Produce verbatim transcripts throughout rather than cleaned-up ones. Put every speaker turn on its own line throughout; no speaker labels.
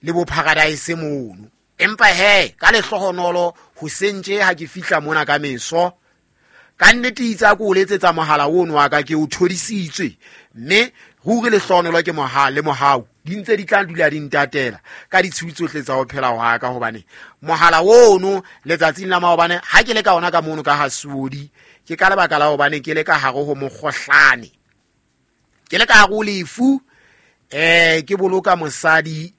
Le bo Paradise mono. Empa he ka lehlohonolo ho sentse ha ke fihla mona ka meso. Ka nnete itse ko o letsetsa mohala ono wa ka ke o thodisitswe mme ruri lehlohonolo ke mohala le mohau di ntse di tla dula di ntatela ka ditshiu tsohle tsa ho phela hwa ka hobane mohala ono letsatsing la maobane ha ke le ka ona ka mono ka Hasuodi ke ka lebaka la hobane ke le ka hare ho mokgohlane ke le ka hare ho lefu eh ke boloka mosadi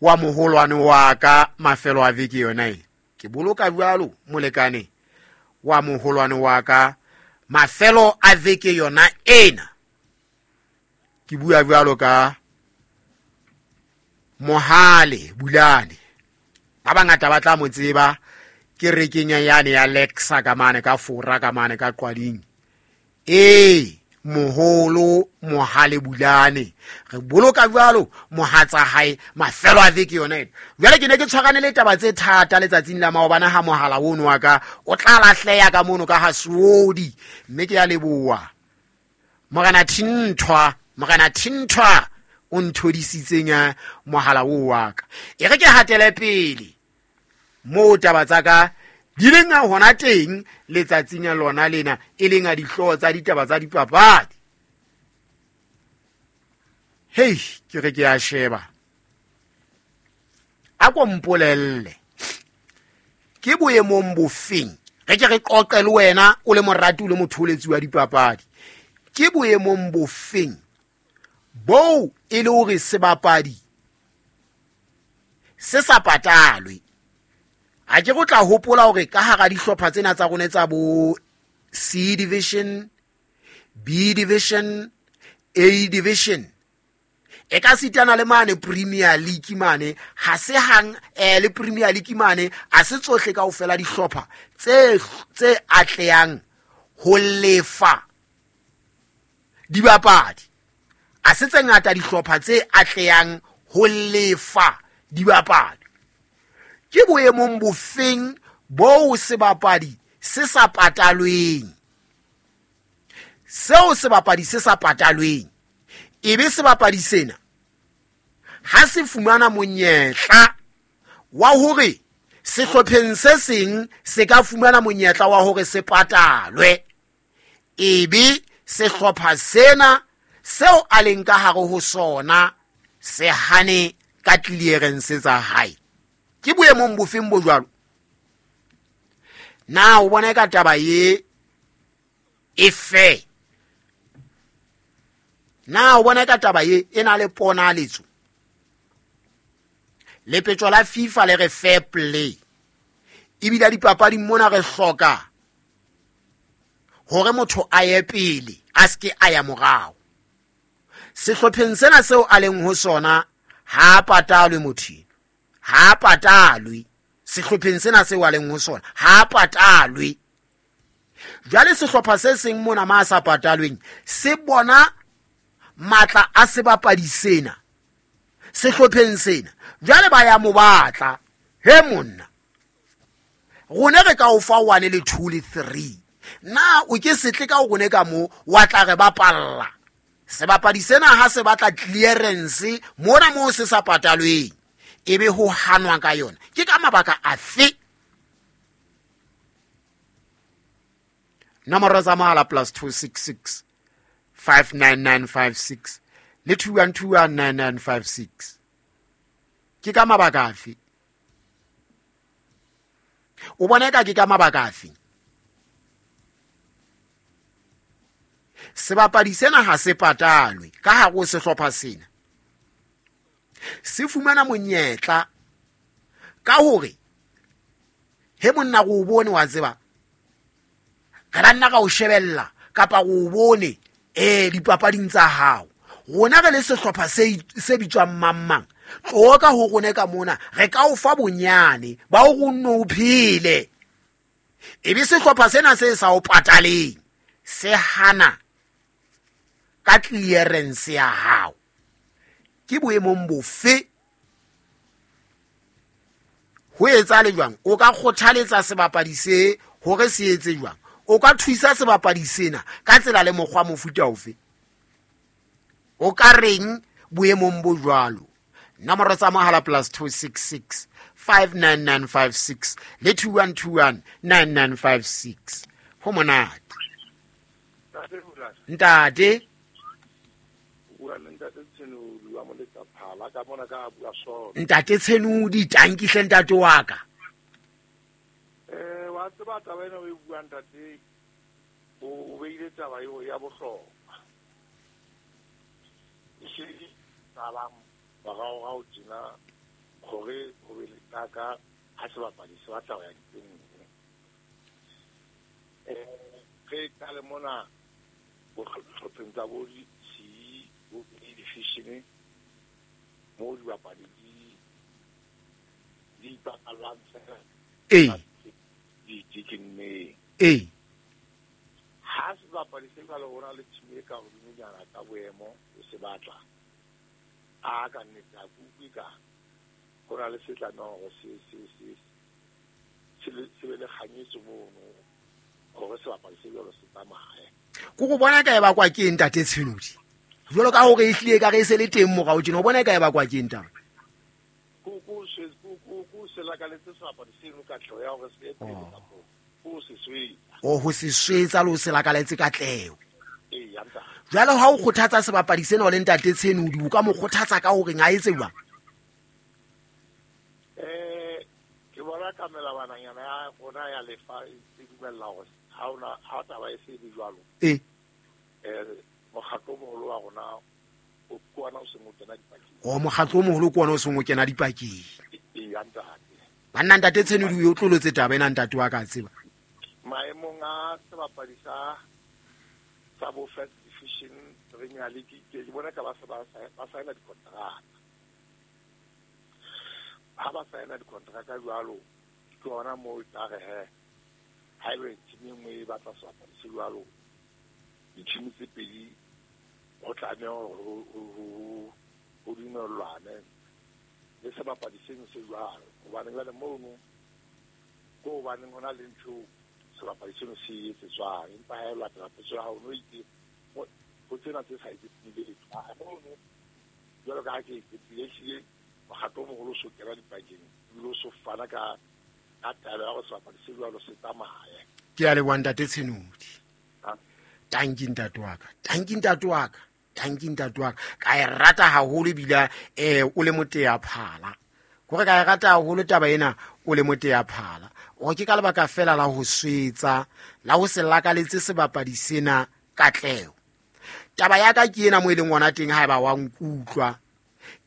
wa moholwane wa ka mafelo a veke yona e ke boloka jwalo molekane wa moholwane wa ka mafelo a veke yona ena ke bua jwalo ka Mohale Bulane ba bangata ba tla mo tseba ke rekeng yane ya Lexa ka mane ka Fora ka mane ka Qwading ee moholo Mohale Bulane re boloka jwalo mohatsa hae mafelo a veke yona ena jwale ke ne ke tshwarane le taba tse thata letsatsing la maobane ha mohala ono wa ka o tla lahleha ka mono ka Hasuodi mme ke ya leboha Morena Thinthwa Morena Thinthwa o nthodisitseng mohala o wa ka e re ke hatele pele mo taba tsa ka di leng hona teng letsatsing la lona lena e leng a dihlooho tsa ditaba tsa dipapadi. Hei ke re ke a sheba a ko mpolelle ke boemong bofeng re ke re qoqe le wena o le morati o le motholetsi wa dipapadi ke boemong bofeng boo e le hore sebapadi se sa patalwe ha ke go tla hopola hore ka hara dihlopha tsena tsa rona tsa bo C division, B division, A division e ka sitana le mane Premier League mane ha se hang eh le Premier League mane a se tsohle kaofela dihlopha tse tse atlehang ho lefa dibapadi a se tse ngata dihlopha tse atlehang ho lefa dibapadi ke boemong bofeng boo sebapadi se sa patalweng seo sebapadi se sa patalweng ebe sebapadi sena ha se fumana monyetla wa hore sehlopheng se seng se ka fumana monyetla wa hore se patalwe ebe sehlopha sena seo a leng ka hare ho sona se hane ka clearance tsa hae ke boemong bofeng bo jwalo na o bona ka taba ye e fe na o bona ka taba ye e na le ponaletso lepetjo la FIFA le re fair play ebile dipapadi mona re hloka hore motho a ye pele a ske a ya morao sehlopheng sena seo a leng ho sona ha patalwe motho ha patalwe sehlopheng sena seo a leng ho sona ha patalwe jwale sehlopha se seng mona ma sa patalweng se bona matla a sebapadi sena sehlopheng sena jwale ba ya mo batla he monna rone re ka o fa one le two le three na o ke setle ka o rone ka mo wa tla re bapalla sebapadi sena ha se batla clearance mona mo se sa patalweng ebe ho hanwa ka yona ke ka mabaka afe nomoro tsa mohala plus two six six five nine nine five six le two one two one nine nine five six ke ka mabaka afe o bona ka ke ka mabaka afe sebapadi sena ha se patalwe ka hare ho sehlopha sena se fumana monyetla ka hore he monna go bone wa tseba re la nna ka o shebella kapa go bone eh dipapading tsa hao rona re le sehlopha se se bitswang mang mang tlo ka ho rone ka mona re ka o fa bonyane ba o nno o phele ebe sehlopha sena se sa o pataleng se hana ka clearance ya hao ke boemong bofe ho etsa le jwang o ka kgothaletsa sebapadi se hore se etse jwang o ka thusa sebapadi sena ka tsela le mokgwa mofuta ofe o ka reng boemong bo jwalo Nomoro tsa mohala plus two six six five nine nine five six le two one two one nine nine five six. Ho monate. Ntate. Ntate Tshenodi, tanki hle ntate wa ka.
Eh wa tseba taba ena o e buang ntate, o beile taba eo ya bohlokwa. E tsalang morao tjena hore ho be le taka ha sebapadi se batla ho ya diteng. Eh re ka le mona bohlopheng tsa bo C bo B division mo dibapadi di di ipakallang fela.
Ee.
Di dikinneng.
Ee.
Ha sebapadi se jwalo ho na le team e ka hodimonyana ka boemo o se batla. A ka nnete a kutlwe ka ho na le se tlamehang hore se se se se be le kganyetso mono hore sebapadi se jwalo se tsamaye.
Ko go bona ka e bakwa ke eng ntate Tshenodi? Jwalo ka hore e hlile ka re e se le teng morao tjena, o bona ka e bakwa ke eng taba?
Ko ko se ko ko ko se lakaletse sebapadi seno katleho ya hore se ye pele kapo ko se swetsa.
O ho se swetsa le ho se lakaletse katleho.
Ee, ya ntate.
Jwale ha o kgothatsa sebapadi sena o le ntate Tshenodi, o ka mo kgothatsa ka hore a etse jwang?
Eh ke bona ka melawananyana ya rona ya lefa e dumella hore ha ona ha taba e se be jwalo.
Ee.
Eh mokgatlo o moholo wa rona o ke ona o seng o kena dipakeng.
O mokgatlo o moholo ke ona o seng o kena dipakeng.
Ee, ya ntate.
Banna ntate Tshenodi o tlolotse taba ena ntate wa ka tseba.
Maemong a sebapadi sa sa bo first division Premier League ke bona ka ba se ba ba saena dikontraka. Ha ba saena dikontraka jwalo ke ona moo e tla re he ha ebe team e nngwe e batla sebapadi se jwalo di-team tse pedi ho tlameha hore ho dumellwane le sebapadi seno se jwalo. Hobane jwale mono ko hobaneng hona le ntho sebapadi seno se etsetswang, empa ha e latela potso ya hao no itse ho tsena tse sa etsetseng letho. Mono jwalo ka ha ke qetile ehlile mokgatlo o moholo o so kena dipakeng ebile o so fana ka ka taelo ya hore sebapadi se jwalo se tsamaye.
Ke a leboha ntate Tshenodi. Tanki ntate wa ka, tanki ntate wa ka, tanki ntate wa ka. Ka e rata haholo ebile eh o le moteya phala. Kore ka e rata haholo taba ena o le moteya phala. O ke ka lebaka fela la ho swetsa, la ho se lakaletse sebapadi sena katleho. Taba ya ka ke ena mo e leng ona teng haeba wa nkutlwa.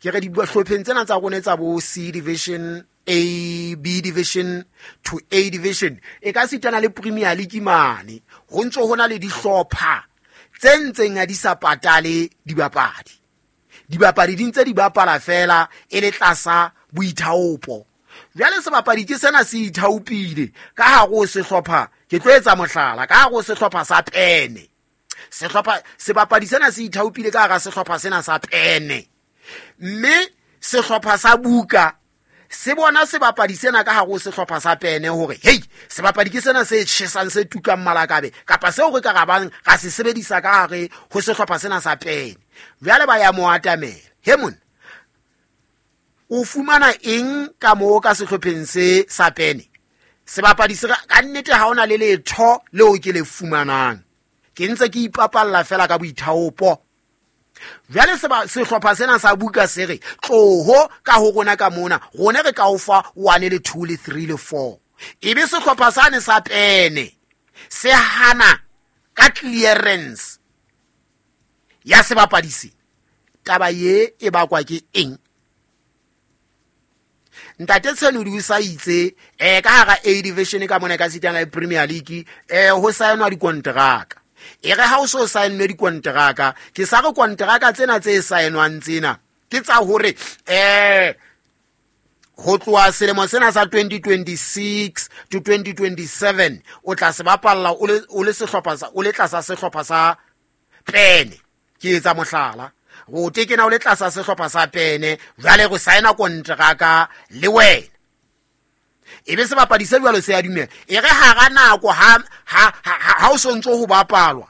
Ke re dihlopheng tsena tsa rona tsa bo C division, A, B division to A division, e ka sitana le Premier League mane ho ntso hona le dihlopha tse ntseng ha di sa patale dibapadi. Dibapadi di ntse di bapala fela e le tlasa boithaopo. Jwale sebapadi ke sena se ithaopile ka hare ho sehlopha, ke tlo etsa mohlala, ka hare ho sehlopha sa Pene. Sehlopha sebapadi sena se ithaopile ka hara sehlopha sena sa Pene. Mme sehlopha sa Buka se bona sebapadi sena ka hare ho sehlopha sa Pene hore hei sebapadi ke sena se tjhesang se tukang malakabe kapa seo re ka rabang ra se sebedisa ka hare ho sehlopha sena sa Pene. Jwale ba ya mo atamela. He monna, o fumana eng ka moo ka sehlopheng se sa Pene? Sebapadi se ka nnete ha ona le letho leo ke le fumanang. Ke ntse ke ipapalla fela ka boithaopo. Jwale sehlopha sena sa Buka se re tloho ka ho rona ka mona, rona re ka o fa one le two le three le four. Ebe sehlopha sane sa Pene se hana ka clearance ya sebapadi se. Taba ye e bakwa ke eng? Ntate Tshenodi o sa itse eh ka hara A division ka mona ka sitana le Premier League eh ho saenwa dikonteraka. E re ha o so saennwe dikonteraka, ke sa re konteraka tsena tse saenwang tsena ke tsa hore eh ho tloha selemo sena sa twenty twenty-six to twenty twenty-seven o tla se bapalla o le o le sehlopha sa o le tlasa sehlopha sa Pene. Ke etsa mohlala go tekena o le tlasa sehlopha sa Pene, jwale go saena konteraka le wena. Ebe sebapadi se jwalo se a dumela. E re hara nako ha ha ha o sontso ho bapalwa,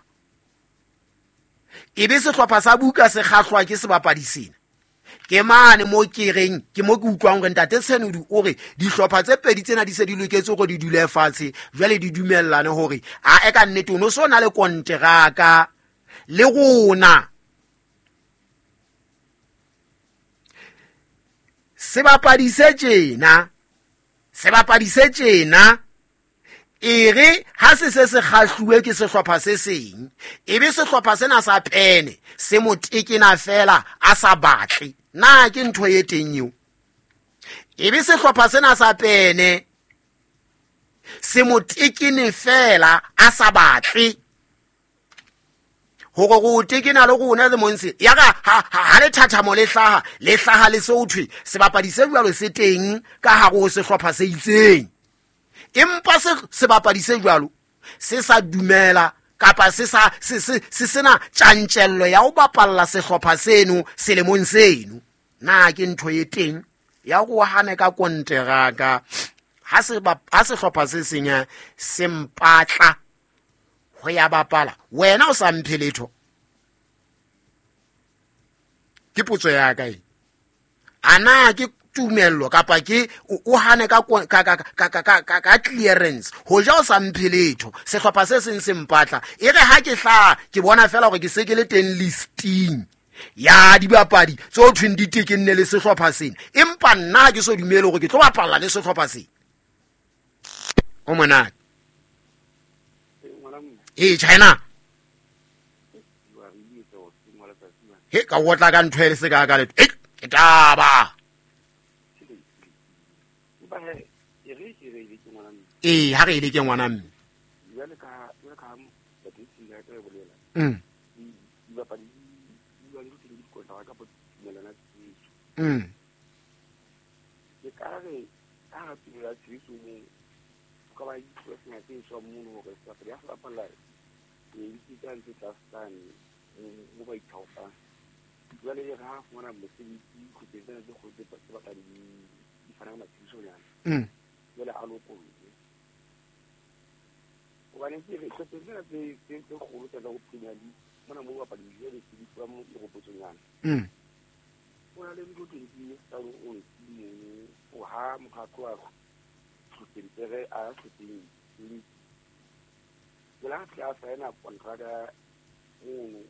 ebe sehlopha sa Buka se kgahlwa ke sebapadi sena. Ke mane mo ke reng ke mo ke utlwang hore ntate Senodi o re dihlopha tse pedi tsena di se di loketse hore di dule fatshe, jwale di dumellane hore a e ka nnete o no so na le konteraka le rona. Sebapadi se tjena, sebapadi se tjena e re ha se se se kgahluwe ke sehlopha se seng, ebe sehlopha sena sa pene se mo tekena fela a sa batle. Na ke ntho e teng eo? Ebe sehlopha sena sa pene se mo tekene fela a sa batle hore go tekena le rona le monse ya ka ha le thathamo le hlaha le hlaha le se ho thwe sebapadi se jwalo se teng ka hare ho sehlopha se itseng, empa se sebapadi se jwalo se sa dumela kapa se sa se se se sena tjantjello ya ho bapalla sehlopha seno selemong seno. Na ke ntho e teng ya go hane ka konteraka ha se ha sehlopha se seng se mpatla ho ya bapala, wena o sa mphe letho? Ke potso ya ka e. Ana ke tumello kapa ke o hane ka ka ka ka ka ka clearance ho ja o sa mphe letho, sehlopha se seng se mpatla, e re ha ke hla ke bona fela hore ke se ke le teng listing ya dibapadi tse ho thweng di tekenne le sehlopha sena, empa nna ha ke so dumele hore ke tlo bapalla le sehlopha sena. O monate. E China he ka otla ka ntho e se ka ka letho ke taba. E ha re ile ke ngwana mme
jwale ka jwale ka ya ka bolela
mm
dibapadi di ba le di kontraka ka tumelana tshebetso
mm
ke ka re ka ha tumela tshebetso mo ka ba ditlo tse tswa mono hore sebapadi ha se bapalla e di tsa ntse tsa stane mo ba ithaopang. Jwale re ha fumana mosebetsi khutse tsena tse kgolo tse batlang di di fana ka matshebetsonyana
mm
jwale a lokollwe hobane ke re hlophe tsena tse tse tse kgolo tsa go Premier League mona mo bapadi jwale se di tswa mo meropotsonyana
mm
o na le ntho tse di tsa o ntsi o ha motho a tloha hlopheng tsere a hlopheng jwale ha fihla a saena kontraka mono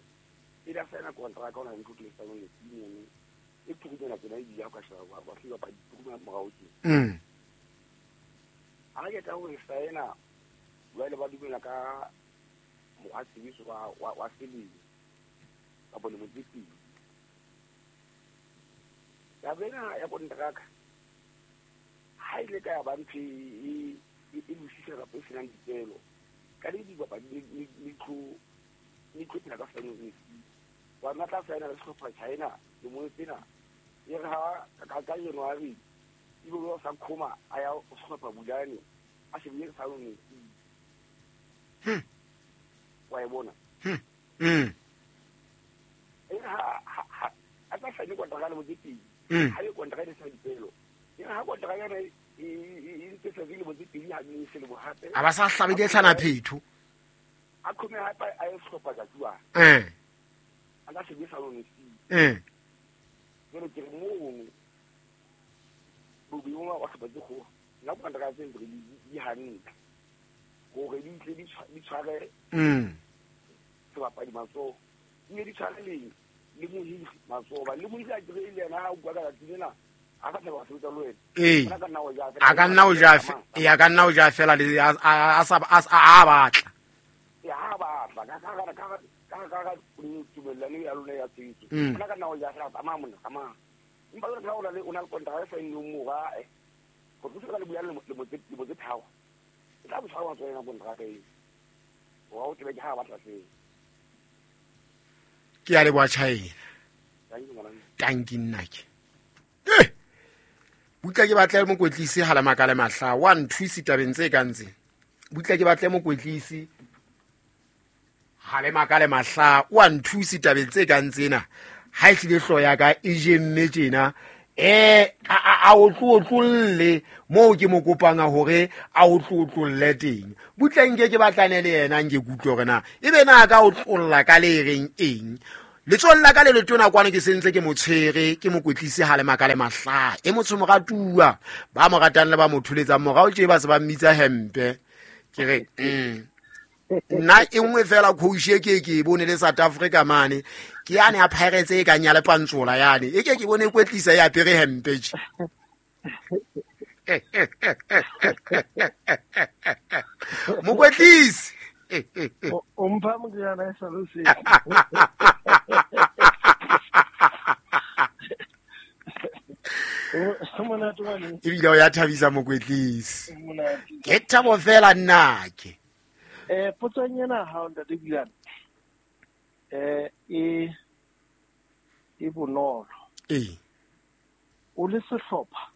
pele a saena kontraka o na le ntho tse tsa o ntsi mono e thurunyana tsena e di ya ka sheba ba hlile bapadi turunya morao tje
mm
ha ke tla ho e saena jwale ba dumela ka mokgwa tshebetso wa wa selemo kapa lemo tse pedi. Taba ena ya kontraka ha ile ka ya ba ntho e e losisa kapa e senang dipelo ka le dibapadi le tlo le tlo phela ka saeno wa nna tla saena le sehlopha China lemong sena e re ha ka ka January ebe o sa khoma a ya sehlopha Bulane a shebile saeno
hmm
wa e bona
hmm mm
e ha ha a tla saena kontraka le motse
mm
ha e kontraka e sa dipelo e ha kontraka yona e e ntse se le motse pedi ha di se le bohape
a ba sa hlabe di tlhana phetho
a khome hape a e sehlopha ka tjwa
eh
a ka shebile saeno
eh
jwale ke re mono bobe wa hlopha tse kgolo nna kontraka tse ntse di hantle hore di tle di tshware
mm
sebapadi matsoho mme di tshware le le mohiri matsoho ba le mohiri a kere le yena ha o bua ka tsatsi lena a ka thaba sebetsa le wena
ee
a ka nna o ja
a ka nna o ja e a ka nna o ja fela le a a sa a batla
e ha batla ka ka ka ka ka ka tumellano ya lona ya tshebetso
Mm.
a ka nna o ja fela tsamaya monna tsamaya empa jwale ka o na le o na le kontraka e saennweng moo ae go tlosa ka le bua lemo tse lemo tse tharo e tla botshwara matsoho ena kontraka eo wa o tsebe ke ha batla seo.
Ke ya leboha China
Thank you, ngwana.
Tanki nnake eh butla ke batle mokwetlisi ha le makale mahla wa nthusi tabeng tse kang tse butla ke batle mokwetlisi ha le makale mahla wa nthusi tabeng tse kang tsena ha e hlile hloho ya ka e jemme tjena eh a a o tlotlolle moo ke mo kopang hore a o tlotlolle teng butle nke ke batlane le yena nke kutlwe hore na ebe na ka o tlolla ka le reng eng Letsohong la ka le letona kwano ke sentse ke mo tshwere ke mokwetlisi ha le maka le mahla e motsho moratuwa ba mo ratang le ba mo tholetsang morao tje ba se ba mmitsa hempe ke re mm nna e nngwe fela coach e ke ke bone le South Africa mane ke yane ya Pirates e kang ya le pantsola yane e ke ke bone kwetlisa ya apere hempe tje. Mokwetlisi
o mpha moriana e sa lo se.
Ebile o ya thabisa mokwetlisi. Ke thabo fela nna ke.
Eh potsong ena ha o ntate Bulane. Eh e e bonolo.
Eh.
O le sehlopha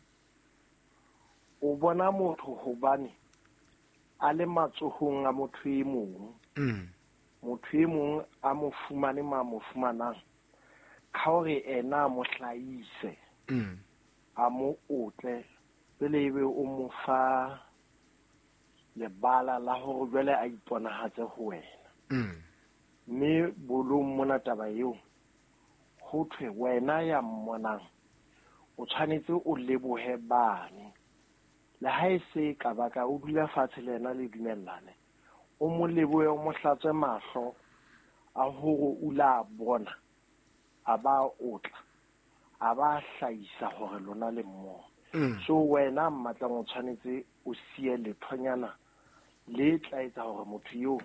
o bona motho hobane a le matsohong a motho e mong.
Mm.
Motho e mong a mo fumane ma mo fumanang. Ka hore ena a mo hlahise.
Mm.
A mo otle pele ebe o mo fa lebala la hore jwale a iponahatse ho wena.
Mm.
Mme bolong mona taba eo ho thwe wena ya mmonang o tshwanetse o lebohe bane. Le ha e se ka baka o dula fatshe le yena le dumellane. O mo lebohe o mo hlatswe mahlo a hore o la bona a ba otla a ba hlahisa hore lona le mmoho.
Mm.
So wena mmatlang o tshwanetse o siye lethonyana le tla etsa hore motho eo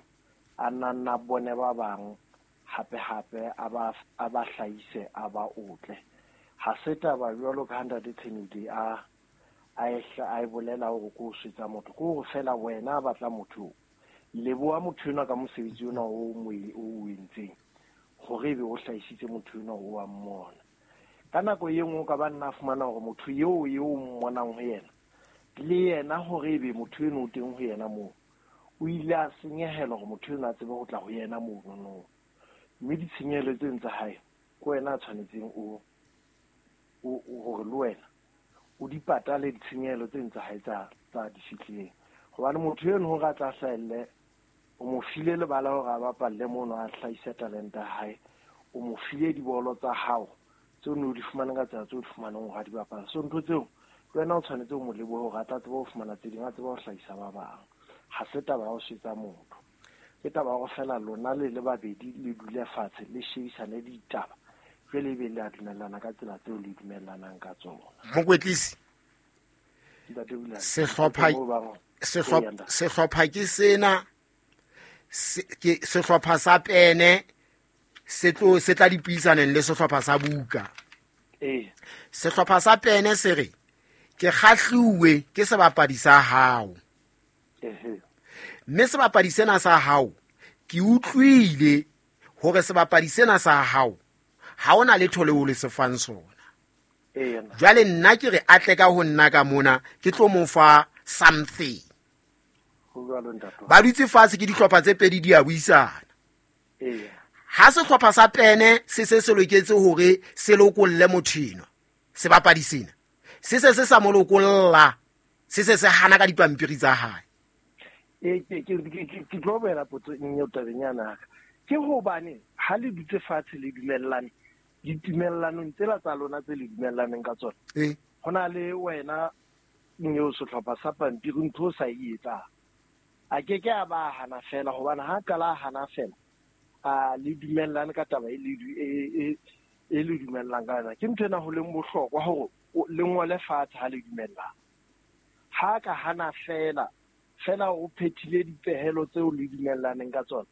a nna bone ba bang hape hape a ba a ba hlahise a ba otle. Ha se taba jwalo ka ntate Tshenoedi a a e bolela hore ko swetsa motho ko hore fela wena a batla motho leboha motho enwa ka mosebetsi ona o mo o entseng hore ebe o hlahisitse motho enwa o wa mmona. Ka nako e nngwe o ka ba nna fumana hore motho eo eo o mmonang ho yena le yena hore ebe motho eno o teng ho yena moo o ile a senyehelwa hore motho eno a tsebe ho tla ho yena mono. Mme ditshenyehelo tseno tsa hae ke wena a tshwanetseng o o hore le wena o di patale ditshenyehelo tseno tsa hae tsa tsa di fihlileng. Hobane motho eno hore a tla hlahelle o mo file lebala hore a bapalle mono a hlahise talente ya hae, o mo file dibolo tsa hao tseo no di fumana ka tsela tseo di fumanang hore a di bapala. So ntho tseo le wena o tshwanetse o mo lebohe hore a tla tseba ho fumana tse ding, a tseba ho hlahisa ba bang. Ha se taba ya ho swetsa motho, ke taba ya hore fela lona le le babedi le dule fatshe le shebisane ditaba jwale ebe le a dumellana ka tsela tseo le dumellanang ka tsona.
Mokwetlisi, sehlopha sehlopha sehlopha ke sena ke sehlopha sa pene se tlo se tla dipuisaneng le sehlopha sa buka.
Eh.
Sehlopha sa pene se re ke kgahluwe ke sebapadi sa hao.
Ehe.
Mme sebapadi sena sa hao ke utlwile hore sebapadi sena sa hao ha ona letho leo le se fang sona.
Eh.
Jwale nna ke re atle ka ho nna ka mona ke tlo mo fa something.
Ho jwalo ntate.
Ba dutse fatshe ke dihlopha tse pedi di a buisana.
Eh.
Ha sehlopha sa pene se se se loketse hore se lokolle motho enwa sebapadi sena se se se sa mo lokolla se se se hana ka dipampiri tsa hae.
Eh ke ke ke tlo boela potso eo tabeng yana. Ke hobane ha le dutse fatshe le dumellane ditumellanong tsela tsa lona tse le dumellaneng ka tsona.
Eh.
Hona le wena eo sehlopha sa pampiri ntho o sa e etsang. A ke ke a ba hana fela hobane ha qala hana fela a le dumellane ka taba e le e e le dumellang ka yona. Ke ntho ena ho leng bohlokwa hore le ngole fatshe ha le dumellana. Ha ka hana fela fela o phethile dipehelo tseo le dumellaneng ka tsona.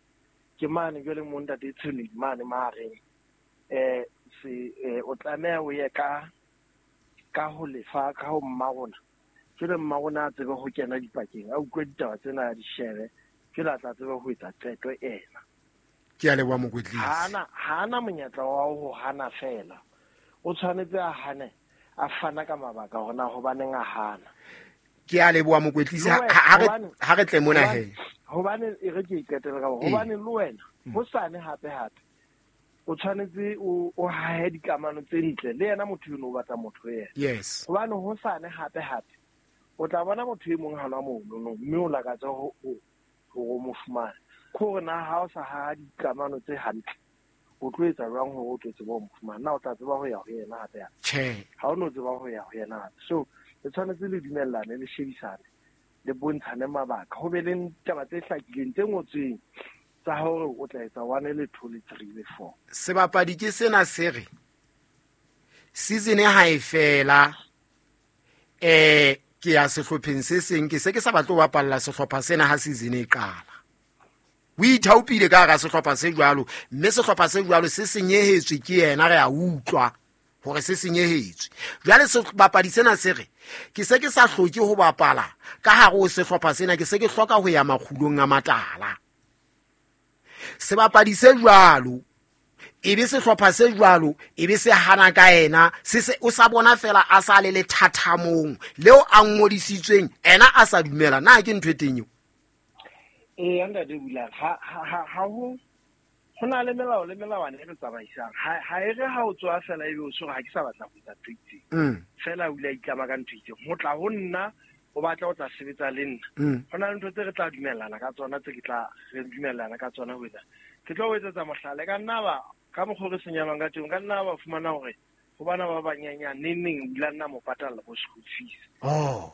Ke mane jwale mo ntate Tshenoedi mane mahareng eh se o tlameha o ye ka ka ho lefa ka ho mma rona. Jwale mma rona a tsebe ho kena dipakeng a utlwe ditaba tsena a di shebe jwale a tla tsebe ho etsa qeto ena.
Ke a leboha mokwetlisi.
Hana hana monyetla wa ho hana fela. O tshwanetse a hane a fana ka mabaka hore na hobaneng a hana.
Ke a leboha mokwetlisi ha re ha re tle mona he.
Hobane e re ke iqetele ka hore hobane le wena hosane hape hape o tshwanetse o o hahe dikamano tse ntle le yena motho eno o batla motho yena.
Yes.
Hobane hosane hape hape o tla bona motho e mong hana mono mme o lakatsa ho ho mo fumana. Ke hore na ha o sa haha dikamano tse hantle O tlo etsa jwang hore o tlo tseba ho mo fumana? Na o tla tseba ho ya ho yena hape?
Tjhe.
Ha o no tseba ho ya ho yena hape. So le tshwanetse le dumellane, le shebisane, le bontshane mabaka. Ho be le taba tse hlakileng tse ngotsweng tsa hore o tla etsa one le two le three le four.
Sebapadi ke sena se re season ha e fela, eh ke ya sehlopheng se seng, ke se ke sa batle ho bapalla sehlopha sena ha season e qala. O ithaopile ka hara sehlopha se jwalo, mme sehlopha se jwalo se senyehetswe ke yena, re a utlwa hore se senyehetswe. Jwale sebapadi sena se re ke se ke sa hloke ho bapala ka hare ho sehlopha sena, ke se ke hloka ho ya makgulong a matala. Sebapadi se jwalo e be sehlopha se jwalo e be se hana ka yena, se se o sa bona fela a sa le lethathamong leo a ngodisitsweng, ena a sa dumela. Na ke ntho e teng eo?
Eh, ntate Bulane, ha ha ha ho ho na le melao le melawana e re tsamaisang. Ha ha e re ha o tswa fela ebe o tshwere ha ke sa batla ho etsa ntho e itseng.
Mm.
Fela o ile a itlama ka ntho e itseng. Ho tla ho nna o batla ho tla sebetsa le nna.
Mm.
Ho na le ntho tse re tla dumellana ka tsona, tse ke tla re dumellana ka tsona ho etsa. Ke tlo o etsetsa mohlala, ka nna ba ka mokgwa o re senyalwang ka teng, ka nna ba fumana hore ho bana ba banyenyane neng neng o ile a nna mo patalla bo school fees.
Oh.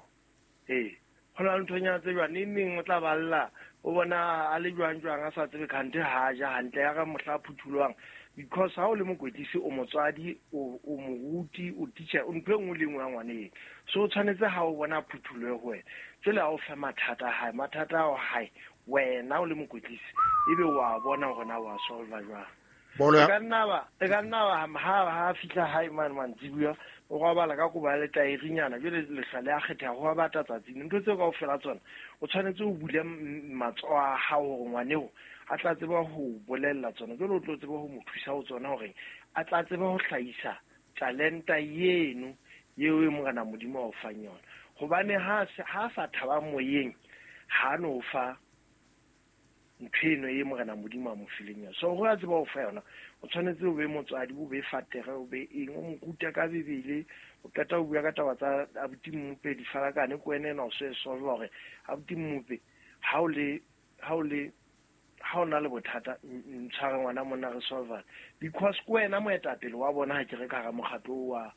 Eh, ho na le nthonyana tse jwang, neng neng o tla balla o bona a le jwang jwang a sa tsebe kgante ha ja hantle ya ka mohla a phuthulohang. Because ha o le mokwetlisi, o motswadi, o, o moruti, o teacher, o ntho e nngwe le nngwe ya ngwaneng. So o tshwanetse ha o bona phuthulohe ho wena, jwale ha o fe mathata a hae, mathata ao hae wena o le mokwetlisi ebe wa bona hore na wa solve jwang.
Bolo ya-
E ka nna ba, e ka nna ba ha, ha fihla hae mane mantsibuya, o robala ka kobo ya letaerinyana, jwale lehlwa le a kgetha ho bata tsatsing. Ntho tseo kaofela tsona o tshwanetse o bule m-, matsoho a hao hore ngwaneo a tla tseba ho bolella tsona, jwale o tlo tseba ho mo thusa ho tsona hore a tla tseba ho hlahisa talenta eno eo e Morena Modimo a o fang yona. Hobane ha se, ha sa thaba moyeng, ha no fa ntho eno e Morena Modimo a mo fileng yona. So hore a tseba ho fa yona, o tshwanetse o be motswadi, o be fatere, o be eng, o mo rute ka Bibele, o qeta ho bua ka taba tsa abuti Mmope, difarakane, ke wena ena o so e solve hore abuti Mmope, ha o le, ha o le, ha o na le bothata, n-, ntshware ngwana monna re solve. Because ke wena moetapele wa bona ha ke re ka hara mokgatlo wa,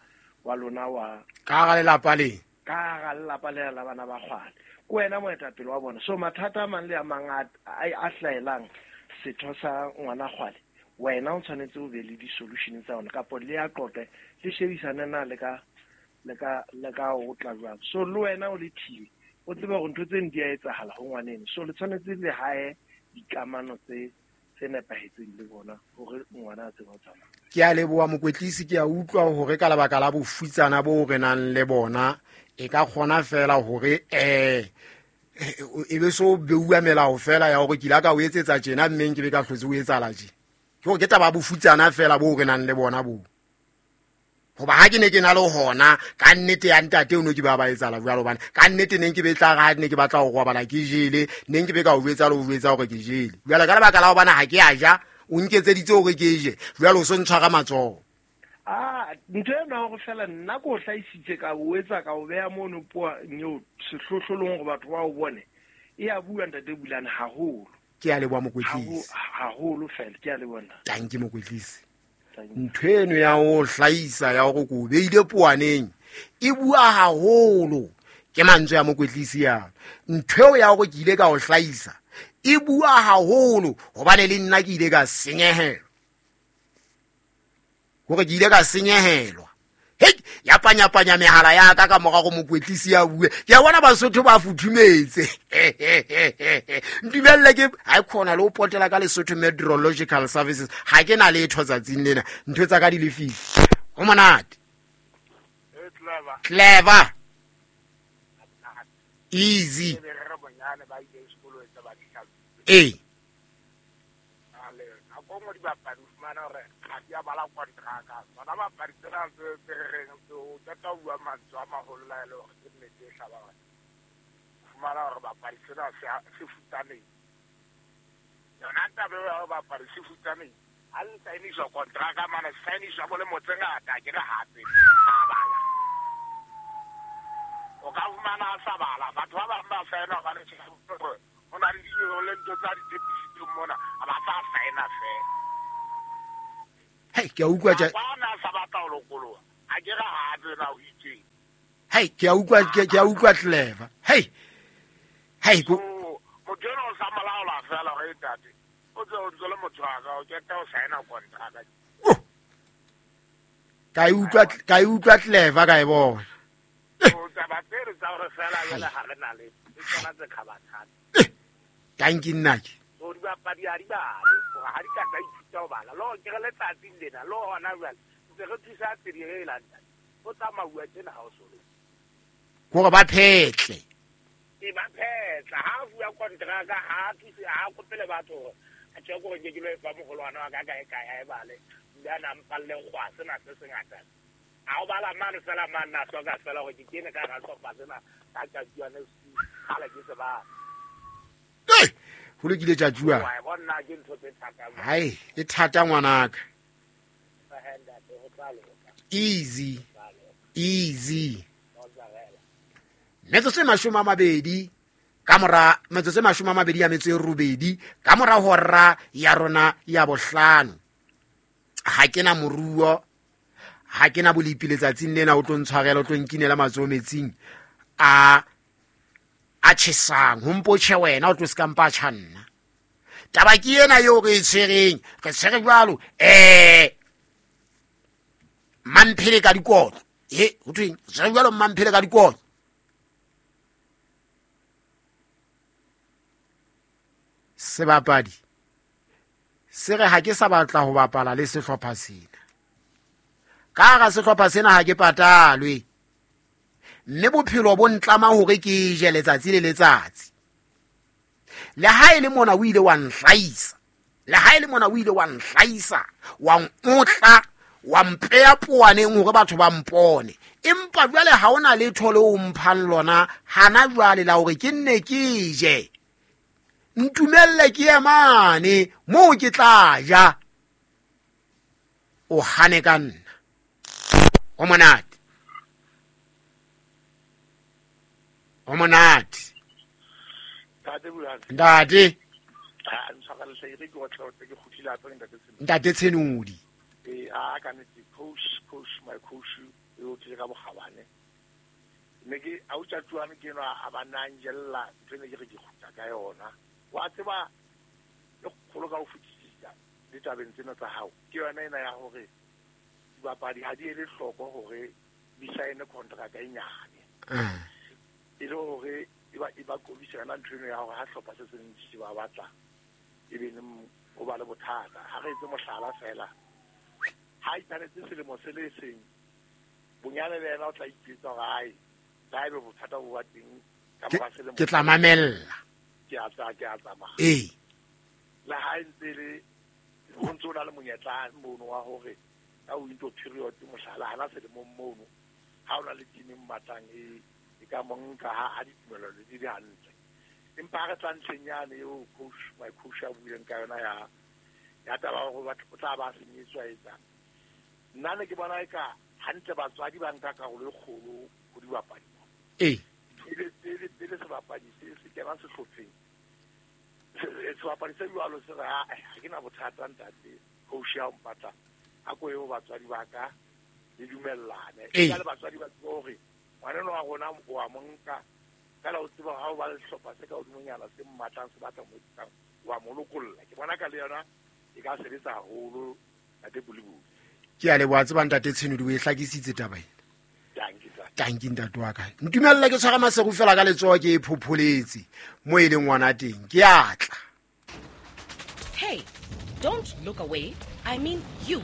wa lona wa
Ka hara lelapa le.
Ka hara lelapa lena la bana ba kgwale. Ke wena moetapele wa bona. So mathata a mang le a mang a, a, a hlahelang setho sa ngwana kgwale, wena o tshwanetse o be le di-solution tsa ona, kapo le a qoqe, le shebisane na le ka, le ka, le ka o tla jwang. So le wena o le team, o tsebe hore ntho tseno di a etsahala ho ngwaneno. So le tshwanetse le hae dikamano tse, tse nepahetseng le bona hore ngwana a tsebe ho tsamaya.
Ke a leboha mokwetlisi, ke a utlwa hore ka lebaka la bofutsana bo re nang le bona, e ka kgona fela hore, eh, e be so beuwa melao fela ya hore ke ile ka o etsetsa tjena, mme nke be ka hlotse o etsahala tje. Ke hore ke taba ya bofutsana fela bo re nang le bona bo. Hoba ha ke ne ke na le hona, ka nnete ya ntate o no ke ba ba etsahala jwalo, hobane ka nnete ne nke be tla re ha ne ke batla ho robala ke jele, ne nke be ka o jwetsa le ho jwetsa hore ke jele. Jwale ka lebaka la hobane ha ke a ja, o nketseditse hore ke je, jwale o so ntshwara matsoho.
Ah, ntho ena hore fela nna ke o hlahisitse ka o etsa ka o beha mono poa eo sehlohlolong hore batho ba o bone, e a bua ntate Bulane haholo.
Ke a leboha mokwetlisi.
Haholo fela, ke a leboha nna.
Tanki mokwetlisi.
Thank you.
Ntho eno ya ho hlahisa ya hore ko beile poaneng e bua haholo, ke mantswe a mokwetlisi yana. Ntho eo ya hore ke ile ka ho hlahisa e bua haholo, hobane le nna ke ile ka senyehelwa. Hore ke ile ka senyehelwa. Hei, ya panyapanya mehala ya ka ka mora go mokwetlisi ya bue. Ke a bona Basotho ba futhumetse. Ntumelle ke ha e khona le ho potela ka Lesotho Meteorological Services. Ha ke na letho tsatsing lena. Ntho tsa ka di lefile. Ho monate.
E clever.
Clever. Easy.
Ke re re bonyane ba ile sekolong tsa ba dihlaloso.
Ee.
Ale, nako nngwe dibapadi o fumana hore ha di a bala kontraka. Tsona bapadi tsena tse tse re reng tse o qeta ho bua mantswe a maholo la e le hore ke nnete e hlabang. O fumana hore bapadi tsena se a-, se futsanehile. Yona taba eo ya hore bapadi se futsanehile, ha le saeniswa kontraka mane, se saeniswa bo lemo tse ngata, ke re hape, ha bala. O ka fumana a sa bala, batho ba bang ba saena hobane hore ho na le dinyewe le ntho tsa ditshepisitseng mona, ha ba sa saena fela.
Hei ke a utlwa tja
ba na sa batla ho lokoloha a ke re ha tsena ho itseng.
Hei ke a utlwa ke a utlwa clever. Hei hei ko
motho eno o sa molaola fela hore ntate o tse o ntse le motho wa ka o keta o saena kontraka.
Ka e utlwa ka e utlwa clever ka e bona.
O taba tsere tsa hore fela jwale ha re na le ke tsona tse khabathata.
Tanki nna ke.
O di bapadi ha di bale, hore ha di ka tsa ithuta ho bala. Lo ke re letsatsing lena lo hona jwale ntse re thusa tsedi e lantang. O tsamauwa tjena ha o so le.
Hore ba phetle.
E ba phetla ha bua kontraka ha thuse ha kopele batho hore a tjhe gore ke ke lo fa mogolwana wa ka kae kae ha e bale. Nda na mpalle kgwa sena se sengata. Ha o bala mane fela mane na hloka fela hore ke kene ka ra hlopha sena ka tjatjuane kgale ke se ba.
Hey, ho lokile tjatjua.
Wa bona ke ntho tse thata.
Hai, e thata ngwanaka. Easy. Easy. Metsotso e mashome a mabedi ka mora metsotso e mashome a mabedi ya metso e robedi ka mora hora ya rona ya bohlano. Ha ke na moruo, ha ke na bolipi letsatsing lena o tlo ntshwarela o tlo nkinela matsoho metsing a a tjhesang ho mpotjhe wena o tlo se ka mpa tjha nna. Taba ke ena eo re e tshwereng, re tshwere jwalo eh mamphele ka dikotlo. He ho thweng tshwere jwalo mamphele ka dikotlo. Sebapadi se re ha ke sa batla ho bapala le sehlopha sena. Ka hara sehlopha sena ha ke patalwe. Mme bophelo bo ntlama hore ke je letsatsi le letsatsi. Le ha e le mona o ile wa nhlaisa. Le ha e le mona o ile wa nhlaisa, wa nkotla, wa mpeya poaneng hore batho ba mpone. Empa jwale ha ona letho le o mphang lona hana jwale la hore ke nne ke je. Ntumelle ke emane moo ke tla ja. O hane ka nna. O monate. O monate. Ntate.
Ha ntshwarele hle ke otla o ke kgutlile hape ntate Tshenodi.
Ntate Tshenodi.
Eh a ka nete coach coach my coach e o tle ka bokgabane. Ne ke a o tjatjuane ke no a ba nanjella ntho ne ke re ke kgutla ka yona. Wa tseba le kgolo ka ho fetisisa ditabeng tsena tsa hao ke yona ena ya hore dibapadi ha di ele hloko hore di saene contract e nyane. E le hore e ba e ba qobisa yona ntho eno ya hore ha hlopha se seng se ba batla e be o ba le bothata. Ha re etse mohlala fela ha ithanetse selemo se le seng bonyane le yena o tla ipetsa hore ai la ebe bothata bo ba teng ka mora selemo
ke tla mamella
ke a tsa ke a tsamaya.
Eh
le ha ntse le o ntse o na le monyetla mono wa hore ka winter period mohlala hana selemong mono ha o na le team e mmatlang e e ka monka ha ha ditumelo di di hantle. Empa re tla ntlheng yane eo coach my coach a buileng ka yona ya ya taba hore batho o tla ba senyetswa etsa. Nna ne ke bona eka hantle batswadi ba nka karolo e kgolo ho dibapadi.
Eh
pele pele pele sebapadi se se kena sehlopheng sebapadi se jwalo se re ha ke na bothata ntate coach ya mpatla a ko eo batswadi ba ka le dumellane ka le batswadi ba tsebe hore ngwana wa rona o a monka ka la o tseba ha o ba le sehlopha se ka hodimonyana se mmatlang se batla mo etsang wa mo lokolla. Ke bona ka le yona e ka sebetsa haholo ntate Bulibuli.
Ke a leboha tseba ntate Tshenodi o e hlakisitse taba ena. Tanki ntate wa ka. Ntumelle ke tshwara maseru fela ka letsoho ke e phopholetse mo e leng ngwana teng. Ke a tla.
Hey, don't look away. I mean you.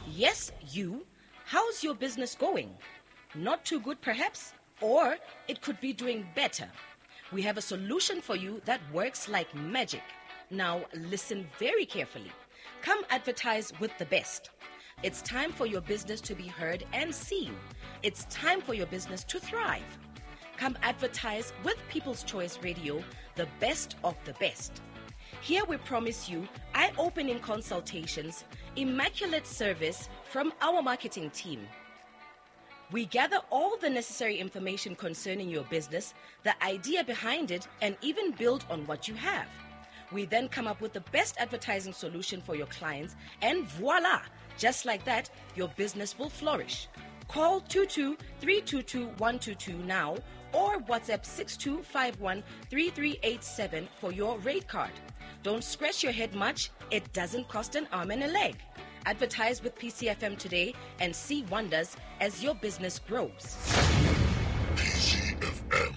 Yes, you. How's your business going? Not too good perhaps, or it could be doing better. We have a solution for you that works like magic. Now listen very carefully. Come advertise with the best. It's time for your business to be heard and seen. It's time for your business to thrive. Come advertise with People's Choice Radio, the best of the best. Here we promise you eye-opening consultations, immaculate service from our marketing team. We gather all the necessary information concerning your business, the idea behind it, and even build on what you have. We then come up with the best advertising solution for your clients, and voila! Just like that, your business will flourish. Call two two three two two one two two now or WhatsApp six two five one three three eight seven for your rate card. Don't scratch your head much. It doesn't cost an arm and a leg. Advertise with P C F M today and see wonders as your business grows.
P C F M,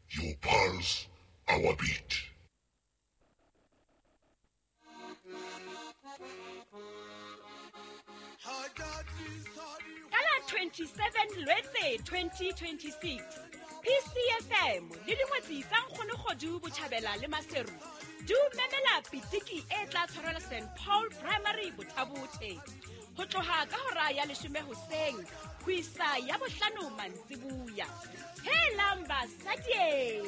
your pulse, our beat.
Kala twenty-seven Lwetse twenty twenty-six, P C F M le dingwetsi tsa Nkgonogodu Botjhabela le Maseru di memela pitiki e tla tshwarelwa Saint Paul Primary Bothabothe ho tloha ka hora ya leshome hoseng ho isa ya bohlano mantsibuya. Helang basadi,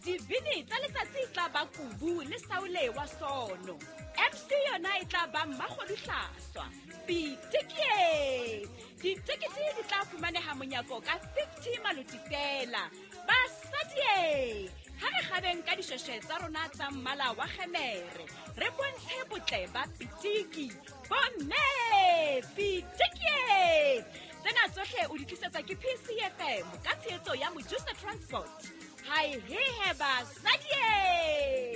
dibini tsa letsatsi tla ba Kubu le Saule wa Sono. M C yona e tla ba Mmakgodu Hlaswa. Pitiki! Ditekete di tla fumaneha monyako ka fifty maloti fela. Basadi, ha re kgabeng ka dishweshwe tsa rona tsa mmala wa kgemere, re bontshe botle ba pitiki. Bomme, pitiki! Tsena tsohle o di tlisetswa ke P C F M ka tshehetso ya Mojusa Transport. Hai he he basadi!